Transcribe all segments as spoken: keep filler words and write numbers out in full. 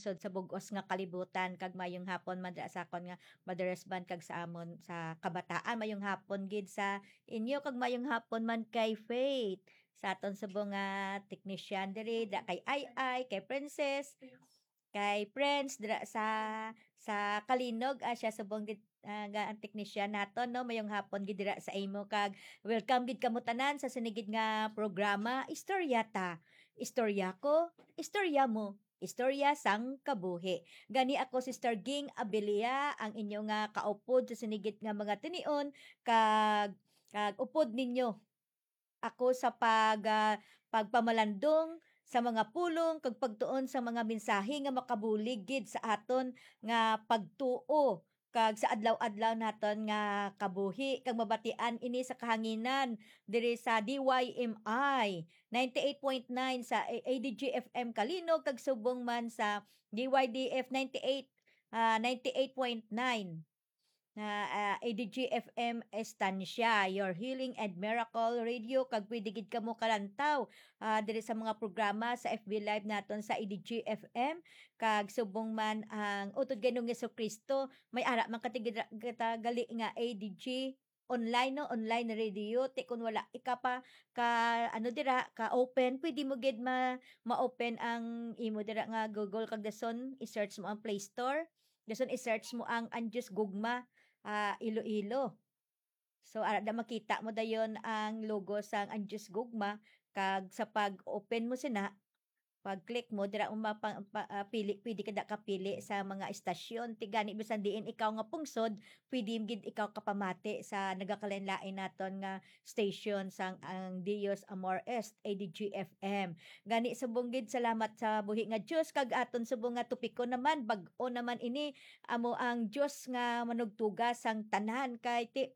sud sa bug-os nga kalibutan, kag mayong hapon man dira sa akon nga Mother Resban kag sa amon sa kabataan. Mayong hapon gid sa inyo, kag mayong hapon man kay Faith, sa aton subong nga technician diri, dira kay Ai Ai, kay Princess, kay Prince, dira sa, sa Kalinog, ah, siya subong gid, ah, nga ang technician naton, no? Mayong hapon gid dira sa imo, kag welcome gid kamo tanan sa sini gid nga programa, Istorya Ta, Istorya Ko, Istorya Mo, Istorya sang Kabuhi. Gani ako, Sister Ging Abilia, ang inyo nga kaupod sa sini gid nga mga tinion, kag, kag upod ninyo ako sa pag, ah, pagpamalandong sa mga pulong kag pagtuon sa mga mensahe nga makabulig gid sa aton nga pagtuo kag sa adlaw-adlaw naton nga kabuhi, kag mabatian ini sa kahanginan diri sa D Y M I ninety-eight point nine sa A D G F M Kalinog, kag subong man sa D Y D F ninety-eight, ah, ninety-eight point nine na, ah, A D G F M Estancia, your healing and miracle radio, kag pwede gid kamo kalantaw, ah, diri sa mga programa sa F B Live naton sa A D G F M, kag subong man ang Utod Ginoong Jesucristo, may ara man kati gid ra-, kita gali nga A D G online, no, online radio, ti kun wala ika pa ka, ano, dira ka open, pwede mo gid ma-, ma-open ang imo dira nga Google, kag dason i-search mo ang Play Store, dason i-search mo ang Ang Diyos Gugma, ah, Iloilo. So, ara da makita mo dayon ang logo sang Ang Diyos Gugma, kag sa pag-open mo sina, pag-click mo, dira mo mapa-, pa-, ah, pili, pwede ka da kapili sa mga estasyon. Ti gani, bisan diin ikaw nga pungsod, pwede gid ikaw kapamati sa nagakalain-lain naton nga station sang Ang Dios Amor Est, A D G F M. Gani, subong gid salamat sa buhi nga Dios, kag aton subong nga topiko naman, bag-o naman ini, amo ang Dios nga manugtuga sang tanan, kay ti-,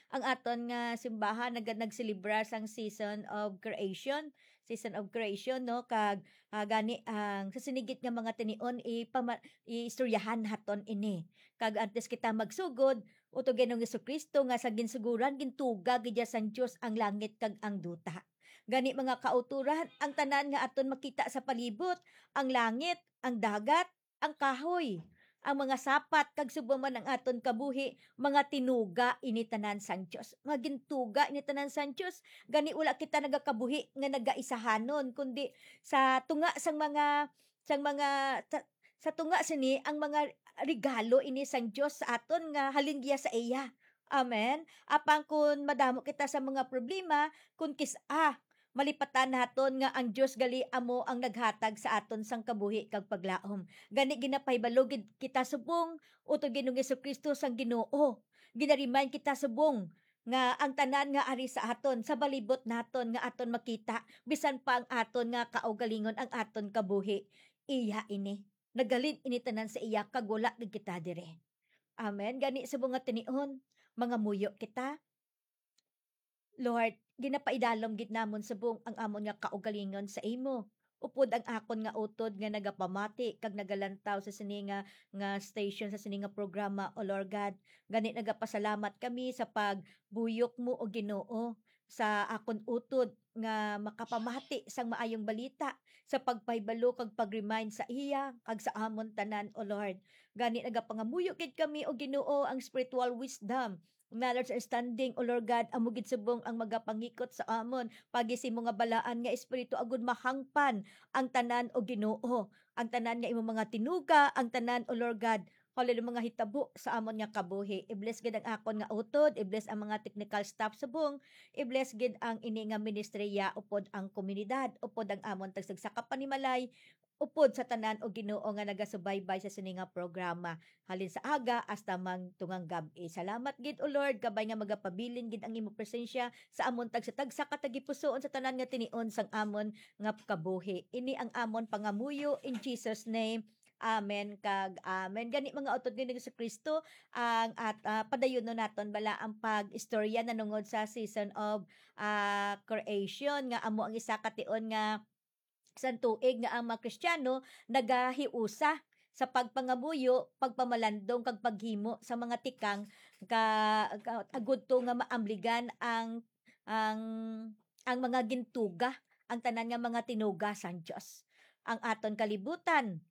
ang aton nga simbahan nag-, nagselebrar sang season of creation, season of creation, no? Kag, ah, gani ang sa sini gid nga mga tinion, ipama-, iistoryahan naton ini. Kag antes kita magsugod, Utod Ginoong Jesucristo, nga sa ginsuguran, gintuga gid sang Dios ang langit kag ang duta. Gani, mga kautoran, ang tanan nga aton makita sa palibot, ang langit, ang dagat, ang kahoy, ang mga sapat, kag subong man ang aton kabuhi, mga tinuga ini tanan sang Dios. Mga gintuga ini tanan sang Dios. Gani, wala kita nagakabuhi nga nagaisahanon, kundi sa tunga sang mga, sang mga, sa, sa tunga sini ang mga regalo ini sang Dios sa aton nga halin giya sa iya. Amen. Apang kun madamo kita sa mga problema, kun kis-, ah, malipatan naton nga ang Dios gali amo ang naghatag sa aton sang kabuhi kag paglaom. Gani, ginapahibalo gid kita subong, Utod Ginoong Jesucristo sang Ginoo. Ginaremind kita subong nga ang tanan nga ari sa aton, sa balibot naton nga aton makita, bisan pa ang aton nga kaugalingon, ang aton kabuhi, iya ini. Naghalin ini tanan sa iya, kag wala gid kita diri. Amen. Gani, subong nga tinion, mangamuyo kita. Lord, ginapaidalom gid namon subong ang amon nga kaugalingon sa imo. Upod ang akon nga utod nga nagapamati kag nagalantaw sa sini nga, nga station, sa sini nga programa, O Lord God. Gani, nagapasalamat kami sa pagbuyok mo, O Ginoo, sa akon utod nga makapamati sang maayong balita, sa pagpahibalo kag pag-remind sa iya kag sa amon tanan, O Lord. Gani, nagapangamuyo gid kami, O Ginoo, ang spiritual wisdom, knowledge, understanding, O Lord God, amo gid subong ang magapangikot sa amon pagi sa imo nga balaan nga Espiritu, agud mahangpan ang tanan, O Ginoo, ang tanan nga imo mga tinuga, ang tanan, O Lord God, hallelujah, mga hitabo sa amon nga kabuhi. I-bless gid ang akon nga utod, i-bless ang mga technical staff subong, i-bless gid ang ini nga ministriya, upod ang komunidad, upod ang amon tagsagsa ka panimalay, upod sa tanan, O Ginoo, nga nagasubaybay sa sini nga programa, halin sa aga hasta man tungang gab-i. Salamat gid, O Lord, kabay nga magapabilin gid ang imo presensya sa amon tagsa-tagsa ka tagipusoon sa tanan nga tinion sang amon nga kabuhi. Ini ang amon pangamuyo in Jesus' name. Amen kag amen. Gani, mga utod nga Jesucristo, ang at, ah, padayunon naton bala ang pag-istorya nanungod sa season of, ah, creation, nga amo ang isa ka tion nga sang tuig nga ang mga Kristiyano nagahiusa sa pagpangamuyo, pagpamalandong, kag paghimo sa mga tikang ka, ka, agud to nga maamligan ang, ang, ang mga gintuga, ang tanan nga mga tinuga sang Dios. Ang aton kalibutan,